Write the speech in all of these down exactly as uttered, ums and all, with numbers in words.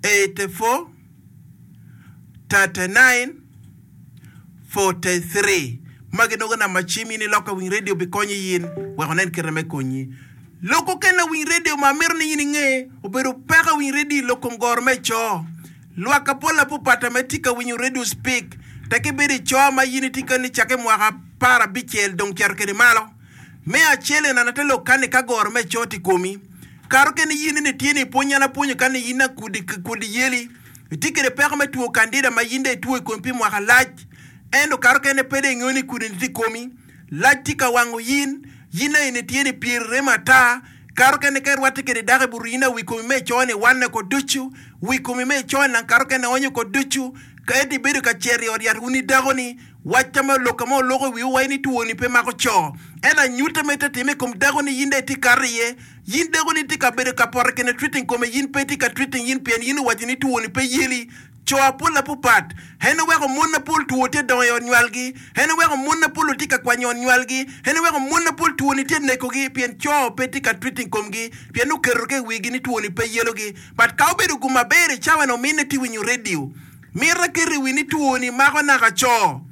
eighty-four thirty-nine forty-three Magi nongo namba cim in iloko winy radio bikonyo in wek onen kite me konyi. Lok okene winy radio ma amito ni in inge obedo peko winy radio i lok kom goro me co. Lwak apol apopata ma itye ka winyo radio speak tek ibedo i co ma in itye ka ni cake mwaka apar abicel dong cito kede malo. Me acel en ate lok kani ka goro me co tye i komi. Kare okene in ni tye ni ipwony an apwonyo kani in akudi kudi yeli. Itye kede peko me two kandida ma in dong itwo i komi pi mwaka lac. Ento kare okene pe dong ingeyo ni kudi ni tye i komi. Lac tye ka wango in, in aye ni tye ni pyeri remo ata. Kare okene ka irwatte kede dako i buto in aye wi komi me ico ni wanne oko ducu. Wi komi me ico ni nang kare okene onyo oko ducu. Ka ento ibedo ka cito i ot yat wun i dako-ni, wacca me olok ka ma oloko i wiwu waci ni two-ni pe mako co. Ento anyutta ma itye ka time i kom dako-ni in dong itye kato iye. In dako-ni itye ka bedo ka poto kene treating kome, in pe itye ka treating in pien in owaco ni two-ni pe yeli. Co apol apopat, en oweko mon apol two tye dongo i ot nywalgi. En oweko mon apol otye ka kwanyo ot nywalgi. En oweko mon apol two-ni tye nekogi pien co pe tye ka treating komgi pien oketo ke i wigi ni two-ni pe yelogi. But ka obedo gum maber i cawa ni omine tye winyo radio. Mito aketo i wi ni two-ni mako naka co.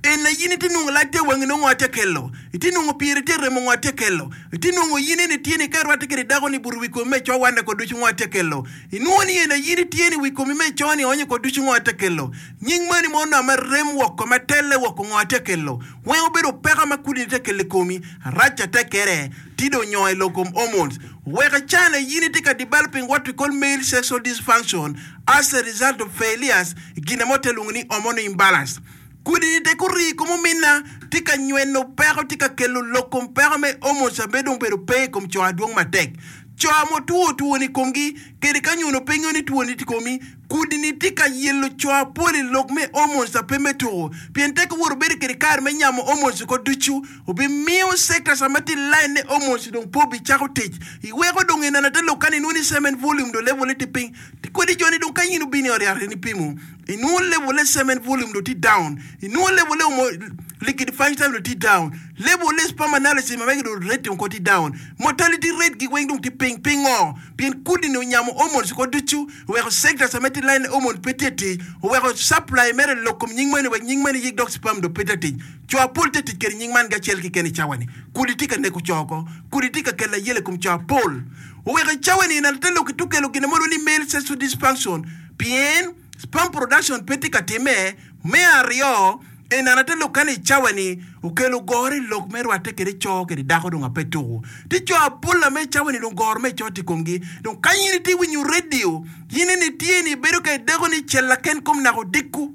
En aye in itye nongo lac te wangi nongo atye kelo. Itye nongo pyeri tye remo ngo atye kelo. Itye nongo in eni tye ni ka irwatte kede dako ni buto wi komi me co wanne ko ducu ngo atye kelo. Inwongo ni en aye in itye ni wi komi me co ni onyo ko ducu ngo atye kelo. Nying mani mo onongo ma rem woko ma telle woko ngo atye kelo. Weng obedo peko ma kudini tye kelo i komi. Arac atek kede ti dong onyo i lok kom hormones. Wek ican aye in itye ka developing what we call male sexual dysfunction as a result of failures i gin mo te lwongo ni hormonal imbalance. Kudi-ni tek orii i kom ominna, tye ka nyweno peko, tye ka kelo lok kom peko me hormones ma dong obedo pe i kom co adwong matek. Co ma otwo two-ni i komgi, kede ka nyono pe ngeyo ni two-ni tye i komi, kudi-ni tye ka yelo co apol i lok me hormones ma pe me tuko. Pien tek owoto bedo kede kare me nyamo hormones oko ducu, obimiyo sectors ma tye i line ne hormones dong pe obicako tic. Iweko dong ineno ate lok kani inwongo ni semen volume dong level-le tye piny. Kodi joni dong ka in obino i ot yat in ipimo, inwongo level le semen volume dong tye down, inwongo level le omo liquidifying time dong tye down, level le sperm analysis ma mege dong rate oko tye down, mortality rate gi weng dong tye piny. Pingo? Pien kudi ni onyamo hormones oko ducu, oweko sectors ma tye line hormones pe tye tic, oweko supply mere lok kom nying moni wek nying moni yik dok sperm dong pe tye tic. Co apol tye tic kede nying man gi acel keken i cawa ni. Kudi tye ka neko co oko. Kudi tye ka kelo ayela i kom co apol. Oweko i cawa ni neno te lok ki tukelo gin mo ni male sexual dysfunction pien sperm production pe tye ka time. Me aryo, enana te lok kani i cawa ni okelo goro i lok me rwatte kede co kede dako dong ape tuku. Tye co apol ame i cawa ni dong goro me co tye i komgi. Dong ka in itye winyo radio, in eni tye ni ibedo ka ideko ni cel laken kom naka odiko.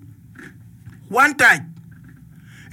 One touch.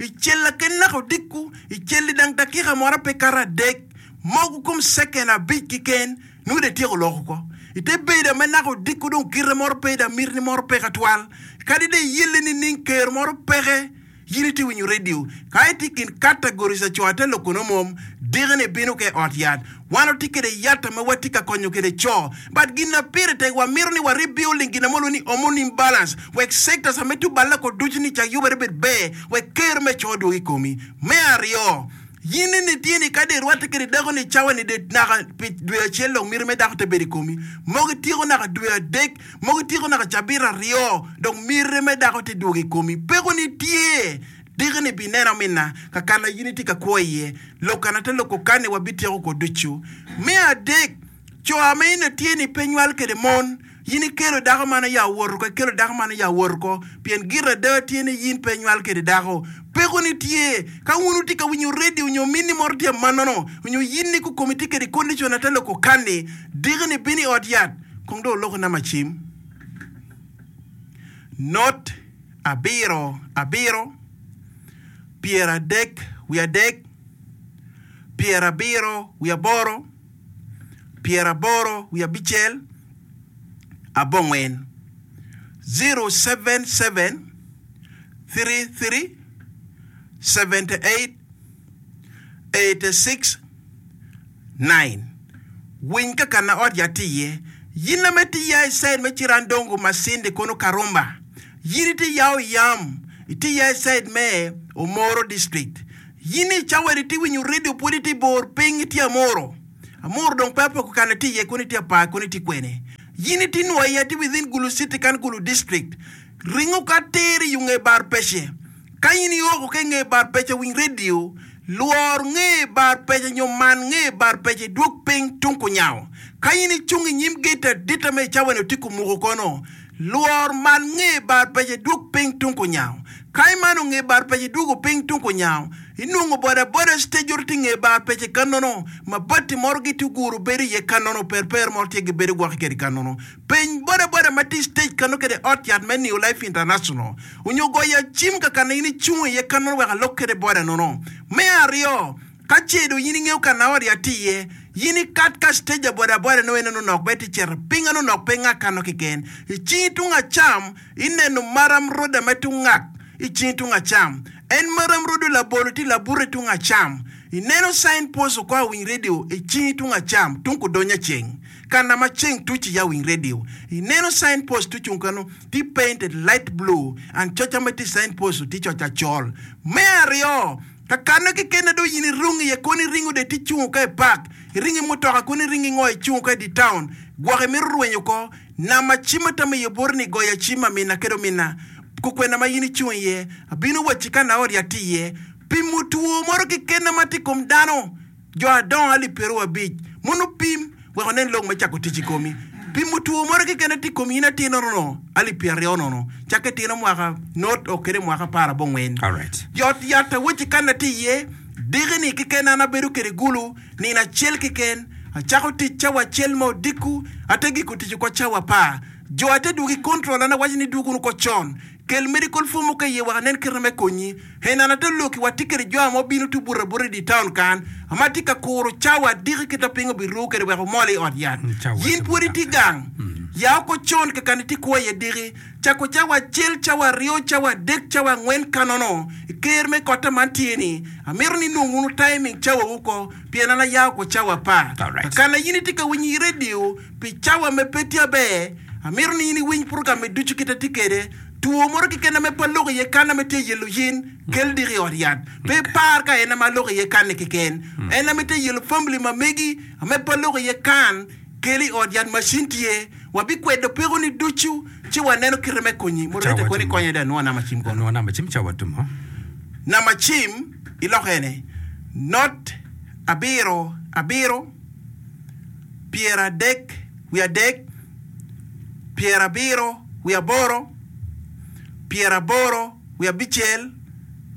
I cel laken naka odiko, i cel i dang dakika moro pe kato adek. Mogo kom ceken abic keken nongo dong ityeko loko oko. Ite bedo ame naka odiko dong kite moro pe dong mitini moro peke atwal. Kadi dong iyelle nining ker moro peke, in itye winyo radio. Ka itye i kin categories a co ate loko nongo mom, diki-ni ibino ka i ot yat. Wan watye kede yat ame watye ka konyo kede co. But gin na pire tek wamito ni wa rebuilding gin ame walwongo ni hormone imbalance wek sectors ame tye oballe oko ducu ni cak yubere bed ber wek ker me co odwog i komi. Me aryo, In nene itye ni kadi irwatte kede dako-ni i cawa-ni de naka pi dwe acel dong miti me dako te bedo i komi. Mogo ityeko naka dwe adek, mogo ityeko naka cabit aryo dong miti me dako te dwogo i komi. Peko-ni tye. Diki-ni ibineno minna ka kana in itye ka kwo iye. Lok kana te loko kani wabityeko ko ducu. Me adek, Co ma in itye ni pe nywal kede mon, in ikelo dako man oya owoto oko, ikelo dako man oya owoto oko, pien gire ada tye ni in pe inywal kede dako. Peko ni tye, ka wun wutye ka winyo redio onyo minni moro tye amannono, onyo in ni kukomi tye kede condition ate loko kanni, diki ni bino i ot yat, kong dong oloko namba cim, not abiro abiro pyeradek wiye adek pyerabiro wiye aboro pyeraboro wiye abicel abongwen, zero seven seven three three seventy eight eighty six nine. Winy ka kana ot yat tye iye. Yin ame tye ya i side me Cirandongo, Masindi kono Karumba. Yin itye ya Oyam, itye ya i side me Omoro district. Yin i cawa-ni itye winyo redio pwod itye i bor piny itye Amuru. Amuru dong pe apoko kana itye iye kono itye apar kono itye kwene. Yin itye nwoya tye within Gulu City kan Gulu District. Ringo ka atir i nge bar pece. Ka in ioko ki i nge bar pece winy redio, lwor nge bar pece nyo man nge bar pece idwog piny tung kunyango. Ka in icung i nyim gate adita me i cawa-ni otye kumuko kono, lwor man nge bar pece idwog piny tung kunyango. Ka imano nge bar pece idwogo piny tung kunyango, inongo bodaboda stage ot tye i nge bar pece kanono, mabati moro gitye oguro bedo iye kanono, perper moro tye gibedo gwoki kede kanono. Peny bodaboda ma tye i stage kano kede ot yat me New Life International, onyo goyo acim ka kana in icung iye kanono wek alok kede boda nono. Me aryo, ka ce dong in ingeyo kana ot yat tye iye, in ikat ka stage a bodaboda nongo en onok bene tye cito piny en onok pe ngak kano keken. I cingi tung acam, ineno maram roda me tung ngak i cingi tung acam. En maram rodo labolo tye labute tung acam. Ineno sign post oko awiny radio i cingi tung acam tung kudonyo aceng. Kana ma ceng tuc iye awiny radio. Ineno sign post tye ocung kano tye painted light blue and coca ma tye i sign post tye coc acol. Me aryo, ka kano keken dong in irung iye kono iringo dong itye cungo ka i park, iringo i mutoka kono iringo ingo icungo ka i dye town, gwok imito rwenyo oko. Nama cim atamo iye boti ni goyo acim amina kede omina kukwena ma in icung iye. Abino wacci ka na ot yat tye iye. Pimo two moro keken ma tye i kom dano, jo adongo alip pyeraryo abic, mono pim wek onen lok me cako tic i komi. Pimo two moro keken ma tye i komi in atir nono alip pyeraryo nono, cakke tino mwaka not o kede mwaka apar abongwen. Ot yat awacci kan atye iye, diki-ni keken an abedo kede gulu nino acel keken. Acako tic cawa acel ma odiko, ate giko tic oko cawa apar. Jo ate dwogo i control an awaco ni dwog wunu oko con. Kel medical form mogo iye wek anen kite me konyi. En an ate loki wa tye kede jo ma obino tye obuto abuta i dye town kan ma atye ka kuro cawa adiki kita piny obiru kede wek omol i ot yat. Yin pwod itye gang. Ya oko con kakan itye kwo iye diki. Cako cawa acel, cawa aryo, cawa adek, cawa angwen kanono i ker me kotta man tye ni amito ni inong wunu timing cawa wu ko pien an aya oko cawa apar. Kakan in itye ka winyo i radio pi cawa me pe tye aber, amito ni in iwiny program me ducu kit atye kede. Two moro keken ame pe aloko iye kan ame tye yelo yin, kel diki i ot yat. Pe ipar ka en ame aloko iye kan-ni keken. En ame tye yelo family ma megi ame pe aloko iye kan, kel i ot yat macin tye. Wabikwedo pekoni ducu ci waneno kite me konyi. Moderator koni konya dong anwo namba cim kono. Anwo namba cim ca watumo. Namba cim iloko ene, not abiro abiro pyeradek wiye adek pyerabiro wiye aboro pyeraboro wiye abicel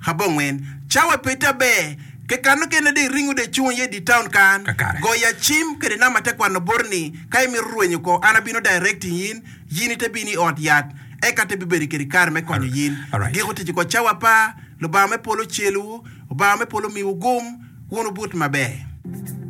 abongwen. Cawa pe tye aber kekano kene dong iringo dong icung iye i dye taun kan Kakare. goya cim kede namba te kwano boti ni ka imito rwenyo ko an abino directing in yin ite bino i ot yat eka te bibedo kede kare me konyo yin. Alright. Giko tic oko cawa apar Lubanga me polo ocelwu Obanga me polo omiwu gum wun wubut maber.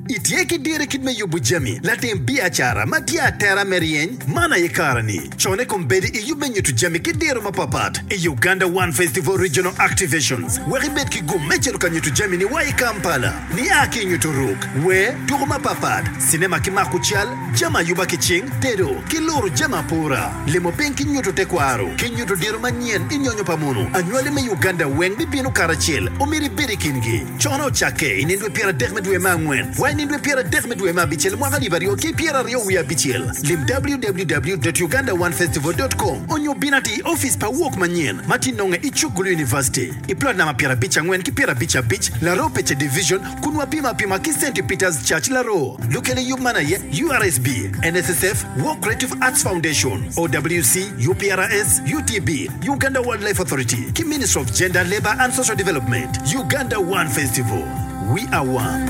Itye ki diro i kit me yubo jami, latim biacara ma tye atera me ryeny? Man aye kare-ni. Cone kombeddi i yub me nyuto jami ki diro mapapat i Uganda One Festival Regional Activations wek ibed ki gum me cito ka nyuto jami-ni wa i Kampala. Nia ki i nyuto ruk, wer, tuko mapapat, cinema ki mako cal, jami ayuba ki cing, tedo, ki luro jami apura, limo piny ki nyuto tekwaro, ki nyuto diro manyen i nyonyo pa munu. Anywali me Uganda weng bibino karacel, omyero ibed i kingi. Cone ocakke i nindwe pyeradek me dwe me angwen wa i nindwe pyeradek me dwe me abicel mwaka alip aryo ki pyeraryo wiye abicel. Lim www dot uganda one festival dot com onyo bin atir i opic pa wok manyen ma tye nonge i cuk Gulu University i plot namba pyerabic angwen ki pyerabic abic, Laroo Pece Division kun wapimo apima ki Centi Peters Church Laroo. Lukel i yub man aye U R S B, N S S F, Wok Creative Arts Foundation, O W C, U P R S, U T B, Uganda Wildlife Authority ki Ministry of Gender, Labour and Social Development. Uganda One Festival. We are one.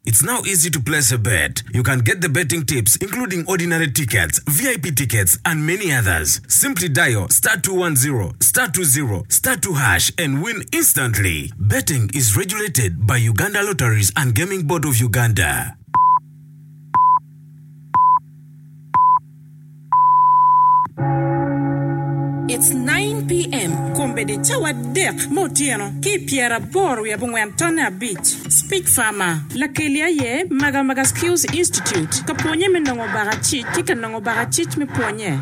It's now easy to place a bet. You can get the betting tips including ordinary tickets, V I P tickets and many others. Simply dial star two one zero star two zero star two hash and win instantly. Betting is regulated by Uganda Lotteries and Gaming Board of Uganda. It's nine P M Kombeddi cawa adek me otyeno ki i pyeraboro wiye abongwen tonne abic. Speech Farmer, Lakeli aye Magamaga Skills Institute ka pwonye me nongo bakacic ki ka nongo bakacic me pwonye.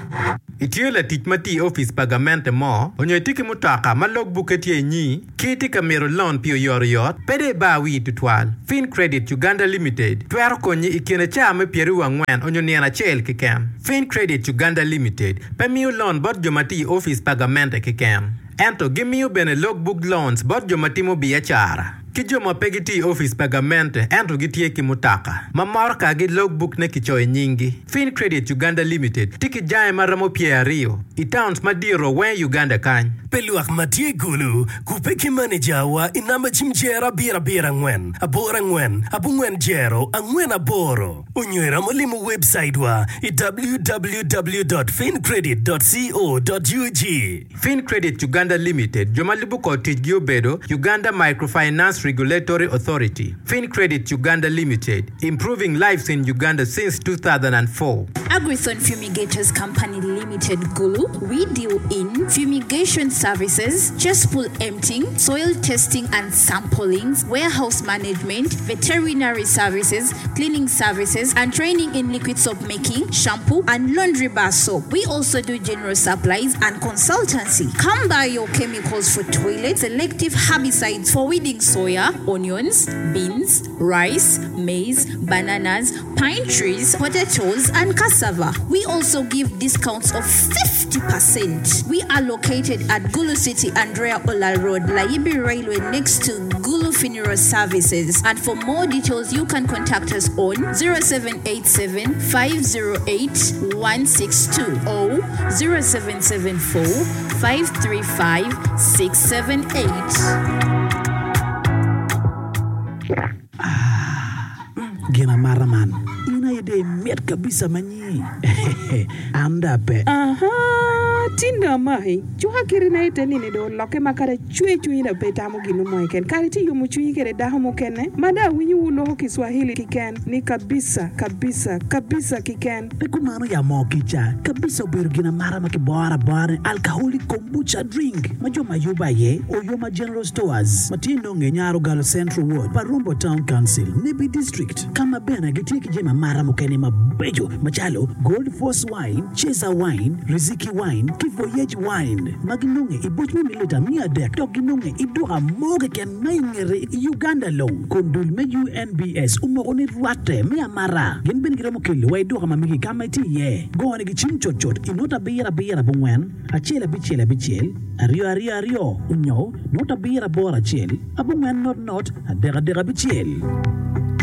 Itye latic ma tye i opic pa gamente mo, onyo itye ki mutoka ma logbukke tye inyi, ki itye ka mito lon pi oyotoyot, pe dong ibar wii tutwal. Fin Credit Uganda Limited twero konyi i kine cawa me pyeraryo angwen onyo nino acel keken. Fin Credit Uganda Limited pe miyo lon bot jo ma tye i opic pa gamente keken, ento gimiyo bene logbook loans bot jo ma timo biacara ki jo ma pe gitye i opic pa gamente ento gitye ki mutoka ma motokagi logbook-ne kicoyo i nyinggi. Fin Credit Uganda Limited tye ki jange ma romo pyeraryo i towns madito weng i Uganda kany. Pi lwak ma tye i Gulu, kubbe ki manejawa i namba cim jero abiro abiro angwen aboro angwen abongwen jero angwen aboro onyo iromo limo webcaitwa i www dot fincredit dot co dot ug. Fin Credit Uganda Limited jo ma lubo kor ticgi obedo Uganda Microfinance Regulatory Authority, Fin Credit Uganda Limited, improving lives in Uganda since two thousand and four. Agrithon Fumigators Company Limited Gulu, we deal in fumigation services, cesspool emptying, soil testing and samplings, warehouse management, veterinary services, cleaning services, and training in liquid soap making, shampoo, and laundry bar soap. We also do general supplies and consultancy. Come buy your chemicals for toilet, selective herbicides for weeding soya, onions, beans, rice, maize, bananas, pine trees, potatoes, and cassava. We also give discounts of fifty percent. We are located at Gulu City, Andrea Ola Road, Layibi Railway next to Gulu Funeral Services. And for more details, you can contact us on zero seven eight seven five zero eight one six two or zero seven seven four five three five six seven eight. Ah, gin amata man, in aye dong imit kabisa ma nyi. An dong ape. Ahaa, tin dong amaki. Cuka kiti-na ite nini dong olokke ma kadi acwe cwinyi dong pe itamo gin mo keken. Kadi itye yomo cwinyi kede dako mukene ma dong awinyo wu loko Kiswahili kiken ni kabisa, kabisa, kabisa kiken. Pe kumano ya moo kica, kabisa obedo gin amata ma kiboro abora ni alcoholic kombucha drink ma jo ma yubo aye Oyoma General Stores ma tye nonge Nyarogalo Central Ward, Parumbo Town Council, Nebbi District, ka ma bene gitye ki jami amata mukene mabeco macalo Gold Force Wine, Chaser Wine, Riziki Wine ki Voyage Wine ma ginonge i boc me mililita miya adek dok ginonge i duka mo keken ma i ngete i Uganda long kun dul me U N B S omoko ni rwatte me amata. Gin bene giromo kelo wa i duka ma megi ka ma itye iye. Gone gi cim cutcut i not abiro abiro abongwen acel abicel abicel aryo aryo aryo onyo not abiro aboro acel abongwen not not adek adek abicel.